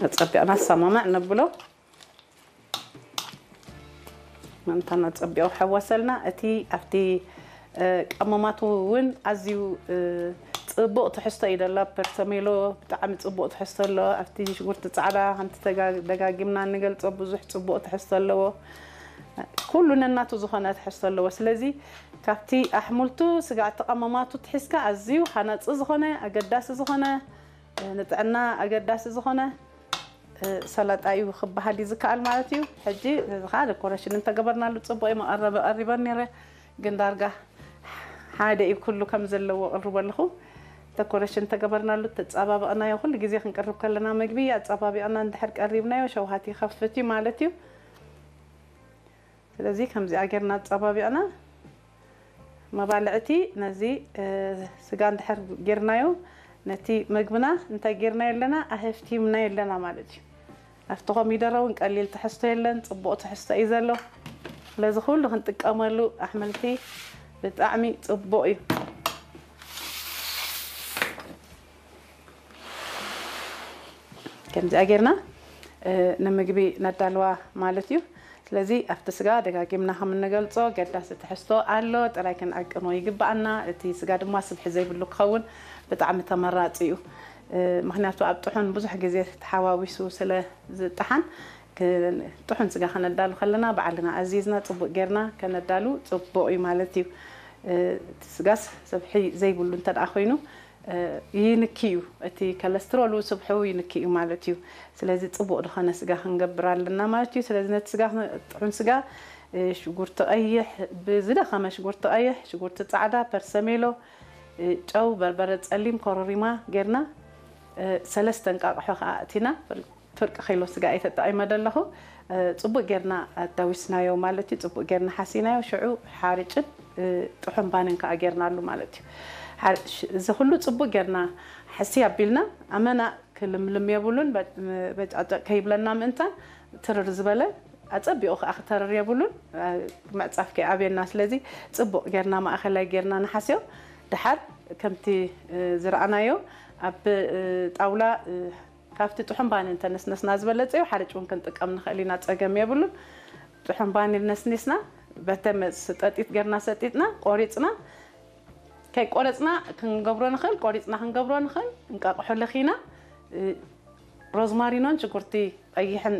ነጸቢቕና ኣሰማማዕ ነብሎ። ምእንታና ጸቢቑ ሓዋሰልና። እቲ ኣብቲ ቀመማቱ እውን ኣዝዩ ጽቡቕ ትሕዝቶ እዩ ደላ። ፐርሰሜሎ ብጣዕሚ ጽቡቕ ትሕዝቶ ኣለዎ። ኣብቲ ሽጉርቲ ጻዕዳ ከምቲ ደጋጊምና እንገልጾ ብዙሕ ጽቡቕ ትሕዝቶ ኣለዎ። ኩሉ ነናቱ ዝኾነ ትሕዝቶ ኣለዎ። ስለዚ ካብቲ ኣሕምልቱ፣ ስጋ፣ እቲ ቀመማቱ ትሒዝካ ኣዝዩ ሃናጺ ዝኾነ፣ ኣገዳሲ ዝኾነ፣ ንጥዕና ኣገዳሲ ዝኾነ ሰላጣ እዩ ክበሃል እዩ ዝከኣል ማለት እዩ። ሕጂ ነዚ ከዓ ደኮሬሽን እንተገበርናሉ ጽቡቕ እዩ። መቐረቢ ቀሪበን ነይረ፣ ግን ዳርጋ ሓደ እዩ ኩሉ ከም ዘለዎ ቅርቡ ኣለኹ። ደኮሬሽን እንተገበርናሉ ተጻባበቕናዮ፣ ኩሉ ግዜ ክንቅርብ ከለና ምግቢ ኣጻባቢቕና እንድሕር ቀሪብናዮ ሸውሃት ይኸፍት እዩ ማለት እዩ። ስለዚ ከምዚኣ ጌርና ኣጻባቢቕና መባልዕቲ ነዚ ስጋ እንድሕር ጌርናዮ ነቲ ምግብና እንታይ ጌርናዮ ኣለና ኣህፍቲምናዮ ኣለና ማለት እዩ። ኣብቲ ኮሚደረ እውን ቀሊል ትሕዝቶ የለን፣ ጽቡቕ ትሕዝቶ እዩ ዘሎ። ስለዚ ኩሉ ክንጥቀመሉ ኣሕምልቲ ብጣዕሚ ጽቡቕ እዩ። ከምዚኣ ጌርና ንምግቢ ነዳልዋ ማለት እዩ። ስለዚ ኣብቲ ስጋ ደጋጊምና ከም እንገልጾ ገዳሲ ትሕዝቶ ኣሎ፣ ጥራይ ክንዕቅኖ ይግብኣና። እቲ ስጋ ድማ ስብሒ ዘይብሉ ክኸውን ብጣዕሚ ተመራጺ እዩ። ምክንያቱ ኣብ ጥሑን ብዙሕ ግዜ ተሓዋዊሱ ስለ ዝጠሓን፣ ጥሑን ስጋ ከነዳሉ ከለና ባዕልና ኣዚዝና ጽቡቕ ጌርና ከነዳሉ ጽቡቕ እዩ ማለት እዩ። እቲ ስጋስ ስብሒ ዘይብሉ እንተ ደኣ ኮይኑ ይንኪ እዩ፣ እቲ ከለስትሮሉ ስብሑ ይንኪ እዩ ማለት እዩ። ስለዚ ጽቡቕ ዝኾነ ስጋ ክንገብር ኣለና ማለት እዩ። ስለዚ ነቲ ስጋ ጥዑም ስጋ ሽጉርቲ ቀይሕ፣ ብዝደኸመ ሽጉርቲ ቀይሕ፣ ሽጉርቲ ጻዕዳ፣ ፐርሰሜሎ፣ ጨው፣ በርበረ ጸሊም፣ ኮረሪማ ጌርና ሰለስተ እንቃቕሖ ከኣ ኣእቲና ፍርቂ ኪሎ ስጋ እየ ተጠቒመ ዘለኹ። ጽቡቕ ጌርና ኣዳዊስናዮ ማለት እዩ። ጽቡቕ ጌርና ሓሲናዮ፣ ሽዑ ሓርጭን ጥሑን ባንን ከኣ ጌርናሉ ማለት እዩ። እዚ ኩሉ ጽቡቕ ጌርና ሕሲ ኣቢልና ኣመና ክልምልም የብሉን። በጫጨቅ ከይብለና ምእንታን ትርር ዝበለ ኣጸቢቑ ከኣ ክተርር የብሉን። ምዕጻፍ ከይኣብየና። ስለዚ ጽቡቕ ጌርና ማእኸላይ ጌርና ንሓስዮ። ድሓር ከምቲ ዝረኣናዮ ኣብ ጣውላ ካብቲ ጥሑን ባኒ እንተነስነስና ዝበለጸ እዩ። ሓርጭ እውን ክንጥቀም ንኽእል ኢና፣ ጸገም የብሉን። ጥሑን ባኒ ነስኒስና በተመ ጠጢት ጌርና ሰጢጥና ቆሪጽና፣ ከይቆረጽና ክንገብሮ ንኽእል፣ ቆሪጽና ክንገብሮ ንኽእል። እንቃቕሖ ለኺና ሮዝማሪኖን ሽጉርቲ ቀይሕን